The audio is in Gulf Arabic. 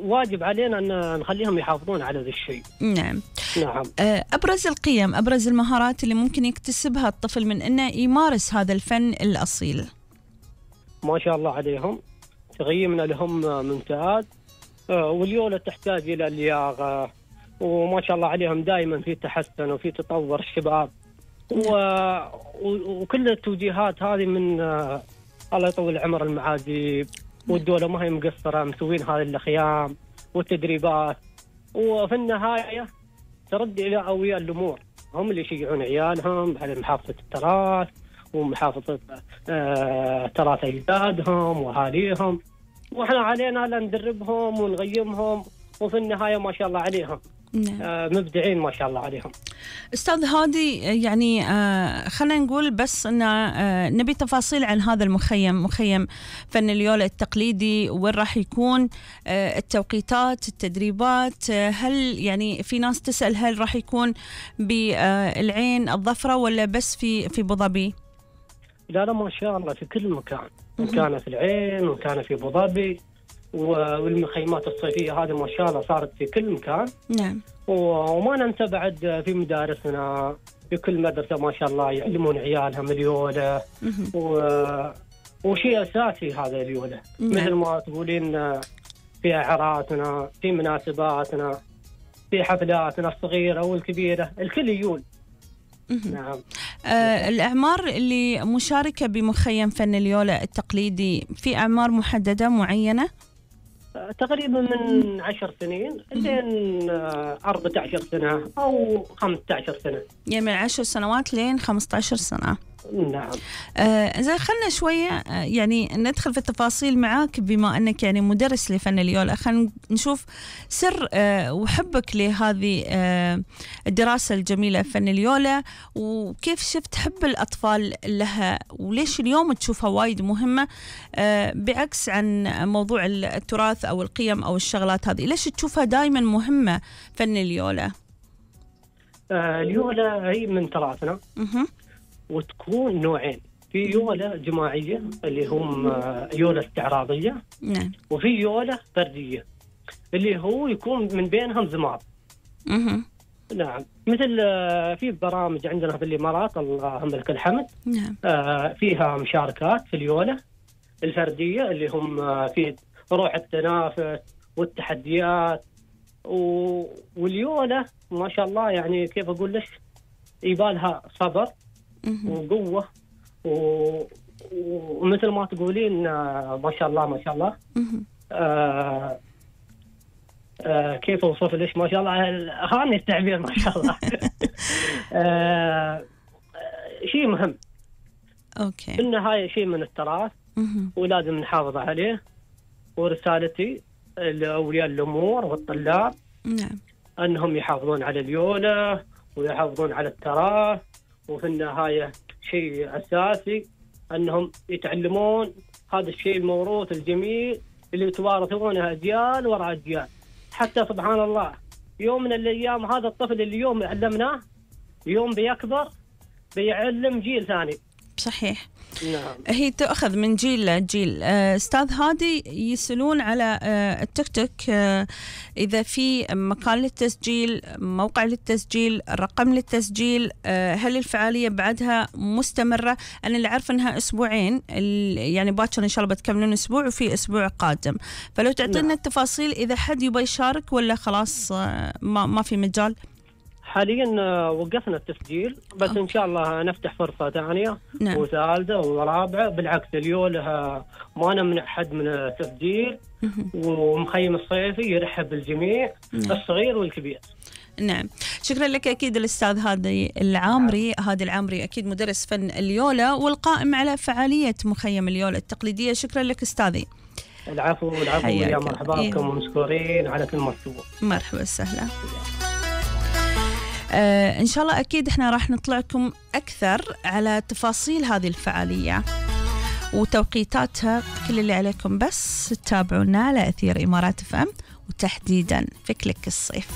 واجب علينا أن نخليهم يحافظون على ذا الشيء. نعم. نعم. أبرز القيم، أبرز المهارات اللي ممكن يكتسبها الطفل من أنه يمارس هذا الفن الأصيل؟ ما شاء الله عليهم، تقييمنا لهم ممتاز. واليولة تحتاج إلى اللياقة، وما شاء الله عليهم دائما في تحسن وفي تطور الشباب. وكل التوجيهات هذه من الله يطول عمر المعازيب، والدولة ما هي مقصرة، مسوين هذه الخيام والتدريبات. وفي النهاية ترد إلى أولياء الأمور، هم اللي يشجعون عيالهم على محافظة التراث ومحافظة تراث أجدادهم وأهاليهم، وإحنا علينا ندربهم ونغيمهم، وفي النهاية ما شاء الله عليهم مبدعين ما شاء الله عليهم. أستاذ هادي، يعني خلينا نقول بس أن نبي تفاصيل عن هذا المخيم، مخيم فن اليولة التقليدي، وين راح يكون، التوقيتات، التدريبات. هل يعني في ناس تسأل هل راح يكون بالعين الظفرة ولا بس في أبو ظبي؟ لا ما شاء الله في كل مكان، كان في العين وكان في أبو ظبي، والمخيمات الصيفية هذه ما شاء الله صارت في كل مكان. نعم. وما ننسى بعد في مدارسنا، في كل مدرسة ما شاء الله يعلمون عيالهم اليولة، وشيء أساسي هذا اليولة. مثل ما تقولين في أعراضنا، في مناسباتنا، في حفلاتنا الصغيرة والكبيرة، الكل يول. نعم. الأعمار اللي مشاركة بمخيم فن اليولة التقليدي في أعمار محددة معينة؟ تقريبا من 10 سنين لين 14 سنة أو 15 سنة. يعني من 10 سنوات لين 15 سنة. نعم. إذا خلنا شوية يعني ندخل في التفاصيل معاك، بما أنك يعني مدرس لفن اليولة، خلنا نشوف سر وحبك لهذه الدراسة الجميلة فن اليولة، وكيف شفت حب الأطفال لها، وليش اليوم تشوفها وايد مهمة بعكس عن موضوع التراث أو القيم أو الشغلات هذه. ليش تشوفها دائما مهمة فن اليولة؟ اليولة هي من تراثنا، وتكون نوعين، في يولة جماعية اللي هم يولة استعراضية، نعم، وفي يولة فردية اللي هو يكون من بينهم زمار. نعم. مثل في برامج عندنا في الإمارات اللهم لك الحمد، نعم، فيها مشاركات في اليولة الفردية اللي هم في روح التنافس والتحديات، واليولة ما شاء الله يعني كيف أقول لك يبالها صبر وقوة، ومثل ما تقولين ما شاء الله ما شاء الله. كيف أوصف ليش ما شاء الله، هاني التعبير ما شاء الله. شيء مهم. أوكي. في النهاية شيء من التراث ولازم نحافظ عليه. ورسالتي لأولياء الأمور والطلاب، نعم، أنهم يحافظون على اليولة ويحافظون على التراث، وفي النهاية شيء أساسي أنهم يتعلمون هذا الشيء الموروث الجميل اللي يتوارثونه أجيال وراء أجيال. حتى سبحان الله يوم من الأيام هذا الطفل اللي يوم علمناه يوم بيكبر بيعلم جيل ثاني. صحيح. نعم. هي تأخذ من جيل لجيل. أستاذ هادي، يسألون على التيك توك إذا في مكان للتسجيل، موقع للتسجيل، رقم للتسجيل، هل الفعالية بعدها مستمرة؟ أنا اللي عارفة أنها أسبوعين، يعني باكر إن شاء الله بتكملون أسبوع وفي أسبوع قادم، فلو تعطينا التفاصيل إذا حد يبغى يشارك ولا خلاص ما في مجال. حاليا وقفنا التسجيل، بس إن شاء الله نفتح فرصة ثانية. نعم. وثالثة ورابعة. بالعكس اليولة ما نمنع حد من التسجيل، ومخيم الصيفي يرحب بالجميع. نعم. الصغير والكبير. نعم. شكرا لك أكيد الأستاذ هادي العامري. هادي العامري أكيد مدرس فن اليولة والقائم على فعالية مخيم اليولة التقليدية. شكرا لك أستاذي. العفو العفو، يا مرحبا بكم ومشكورين على كل مكتوب. مرحبا وسهلا. إن شاء الله أكيد إحنا راح نطلعكم أكثر على تفاصيل هذه الفعالية وتوقيتاتها. كل اللي عليكم بس تتابعونا على أثير إمارات FM، وتحديدا في كليك الصيف.